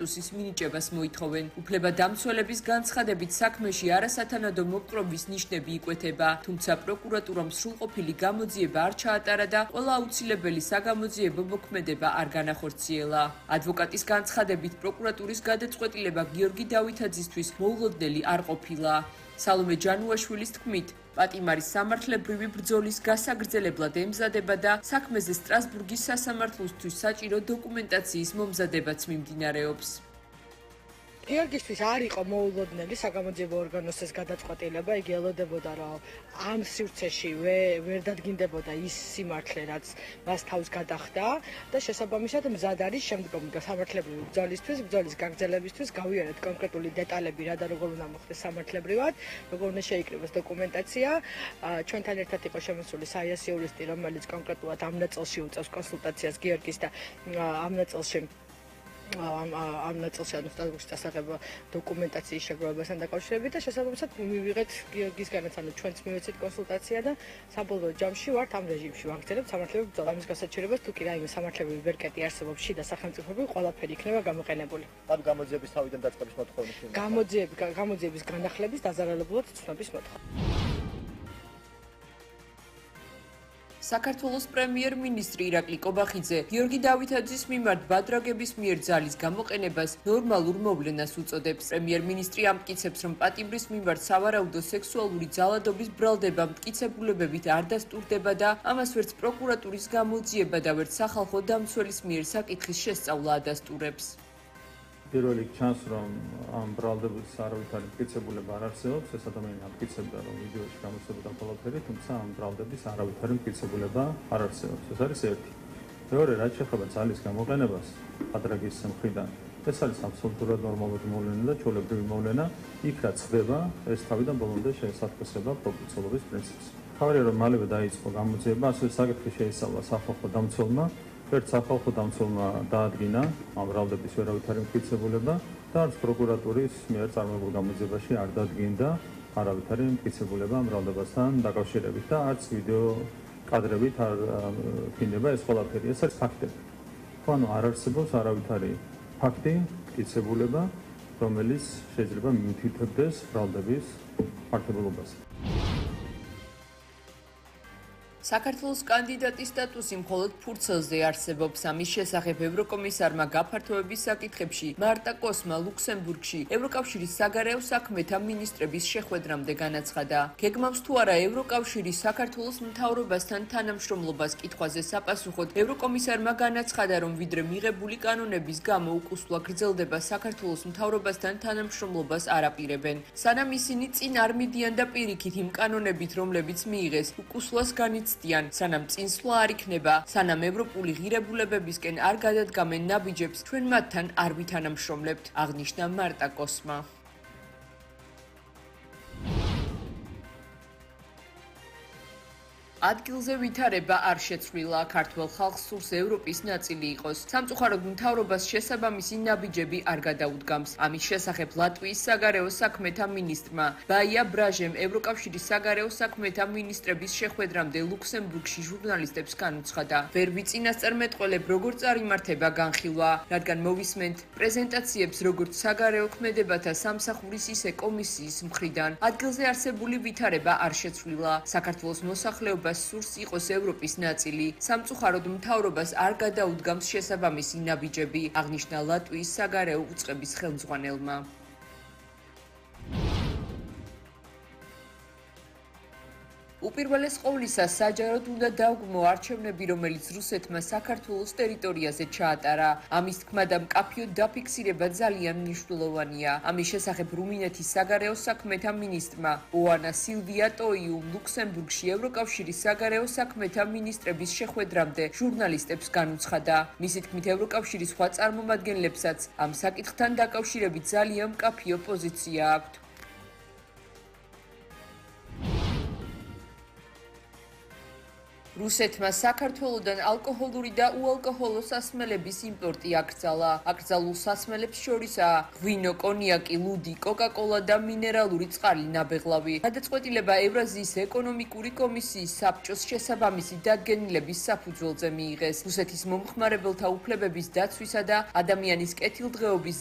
სტატუსის მინიჭებას მოითხოვენ. უფლებადამცველების განცხადებით საქმეში არასათანადო მოპყრობის ნიშნები იკვეთება, თუმცა პროკურატურამ სრულყოფილი გამოძიება არ ჩაატარა და ყველა აუცილებელი საგამოძიებო მოქმედება არ განახორციელა. ადვოკატის განცხადებით პროკურატურის გადაწყვეტილება გიორგი დავითაძისთვის მოულოდნელი არ ყოფილა. სალომე ჯანუაშვილის თქმით, პატიმარის სამართლებრივი ბრძოლის გასაგრძელებლად ემზადება და საქმეზე სტრასბურგის სასამართლოსთვის საჭირო დოკუმენტაციის მომზადებაც მიმდინარეობს. გიორგისთვის არ იყო მოულოდნელი საგამოძიებო ორგანოს გადაწყვეტილება, იგი ელოდებოდა, რომ ამ სივრცეში ვერ დადგინდებოდა ის სიმართლე, რაც მას თავს გადახდა და შესაბამისად მზად არის შემდგომი სამართლებრივი ბრძოლის გაგრძელებისთვის გავიარეთ კონკრეტული დეტალები, რა და როგორ უნდა მოხდეს სამართლებრივად, როგორ უნდა შეიკრიბოს დოკუმენტაცია. ჩვენთან ერთად იყო შემოსული საიას იურისტი, რომელიც კონკრეტულად ამ ნაწილში უწევს კონსულტაციას გიორგის და ამ ნაწილში სტრასბურგის დასაღება დოკუმენტაციის შეგროვებასთან დაკავშირებით და შესაბამისად მივიღეთ გიორგისგანაც, ანუ ჩვენც მივეცეთ კონსულტაცია და საბოლოო ჯამში ვართ ამ რეჟიმში ვაგრძელებთ სამართლებრივ ბრძოლას. ამის გასაჩერებას თუ კი რაიმე სამართლებრივი ვერკეტი არსებობს შიდა სახელმწიფოები, ყველაფერი იქნება გამოყენებული. ანუ გამოძიების თავიდან დაწყების მოთხოვნა შეიძლება. გამოძიების განახლების დაზარალებულად ცნობის მოთხოვნა. საქართველოს პრემიერ-მინისტრი ირაკლი კობახიძე გიორგი დავითაძის მიმართ ბადრაგების მიერ ძალის გამოყენებას ნორმალურ მოვლენას უწოდებს. პრემიერ-მინისტრი ამტკიცებს, რომ პატიმრის მიმართ სავარაუდო სექსუალური ძალადობის ბრალდება მტკიცებულებებით არ დასტურდება და ამას ვერც პროკურატურის გამოძიება და ვერც სახალხო დამცველის მიერ საკითხის შესწავლა ადასტურებს. პირველი ჩანს, რომ ამ ბრალდების არავითარი მტკიცებულება არ არსებობს, ეს ადამიანი ამტკიცებდა, რომ ვიდეოში გამოსცემდა ყველაფერი, თუმცა ამ ბრალდების არავითარი მტკიცებულება არ არსებობს. ეს არის ერთი. მეორე, რაც შეეხება ძალის გამოყენებას ბადრაგის მხრიდან, ეს არის აბსოლუტურად ნორმალური მოვლენა და ჩვეულებრივი მოვლენა, იქ რაც ხდება, ეს თავიდან ბოლომდე შეესაბამება პროპორციულობის პრინციპს. თავარია, რომ მალევე დაიწყო გამოძიება, ასევე საკითხი შეისწავლა სახალხო დამცველმა. ერთ სახალხო დამცველმა დაადგინა ამ ბრალდების ვერავითარი მტკიცებულება და არც პროკურატურის მიერ წარმოებულ გამოძიებაში არ დადგინდა არავითარი მტკიცებულება ამ ბრალდებასთან დაკავშირებით და არც ვიდეო კადრებით არ ფინდება ეს ყველაფერი. ეს არის ფაქტები. ანუ არ არსებობს არავითარი ფაქტი, მტკიცებულება, რომელიც შეიძლება მიუთითებდეს ბრალდების ფაქტებულობას. საქართველოს კანდიდატის სტატუსი მხოლოდ ფურცელზე არსებობს. ამის შესახებ ევროკომისარმა გაფართოების საკითხებში მარტა კოსმა ლუქსემბურგში ევროკავშირის საგარეო საქმეთა მინისტრების შეხვედრამდე განაცხადა. გეგმავს თუ არა ევროკავშირის საქართველოს მთავრობასთან თანამშრომლობას კითხვაზე საპასუხოდ ევროკომისარმა განაცხადა, რომ ვიდრე მიღებული კანონების გამო უკუსვლა გრძელდება, საქართველოს მთავრობასთან თანამშრომლობას არ აპირებენ. სანამ ისინი წინ არ მიდიან და პირიქით იმ კანონებით, რომლებიც მიიღეს, უკუსვლას განიცდიან, სანამ წინსვლა არ იქნება, სანამ ევროპული ღირებულებებისკენ არ გადადგამენ ნაბიჯებს, ჩვენ მათთან არ ვითანამშრომლებთ, აღნიშნა მარტა კოსმა. ადგილზე ვითარება არ შეცვლილა, ქართველ ხალხს სურს ევროპის ნაწილი იყოს. სამწუხაროდ მთავრობას შესაბამისი ნაბიჯები არ გადაუდგამს. ამის შესახებ ლატვიის საგარეო საქმეთა მინისტრმა ბაია ბრაჟემ ევროკავშირის საგარეო საქმეთა მინისტრების შეხვედრამდე ლუქსემბურგში ჟურნალისტებს განუცხადა. ვერ ვიწინასწარმეტყველებ, როგორ წარიმართება განხილვა, რადგან მოვისმენთ პრეზენტაციებს როგორც საგარეო ქმედებათა სამსახურის, ისე კომისიის მხრიდან. ადგილზე არსებული ვითარება არ შეცვლილა. საქართველოს მოსახლეობა სურს იყოს ევროპის ნაწილი. სამწუხაროდ მთავრობას არ გადაუდგამს შესაბამისი ნაბიჯები, აღნიშნა ლატვიის საგარეო უწყების ხელმძღვანელმა. უპირველეს ყოვლისა, საჯაროდ უნდა დაუგმო არჩევნები, რომელიც რუსეთმა საქართველოს ტერიტორიაზე ჩაატარა. ამის თქმა და მკაფიო დაფიქსირება ძალიან მნიშვნელოვანია. ამის შესახებ რუმინეთის საგარეო საქმეთა მინისტრმა ოანა სილვია ტოიუმ ლუქსემბურგში ევროკავშირის საგარეო საქმეთა მინისტრების შეხვედრამდე ჟურნალისტებს განუცხადა. მისი თქმით, ევროკავშირის სხვა წარმომადგენლებსაც ამ საკითხთან დაკავშირებით ძალიან მკაფიო პოზიცია აქვთ. რუსეთმა საქართველოდან ალკოჰოლური და უალკოჰოლო სასმელების იმპორტი აკრძალა. აკრძალულ სასმელებს შორისაა ღვინო, კონიაკი, ლუდი, კოკა-კოლა და მინერალური წყალი ნაბეღლავი. გადაწყვეტილება ევრაზიის ეკონომიკური კომისიის საბჭოს შესაბამისი დადგენილების საფუძველზე მიიღეს. რუსეთის მომხმარებელთა უფლებების დაცვისა და ადამიანის კეთილდღეობის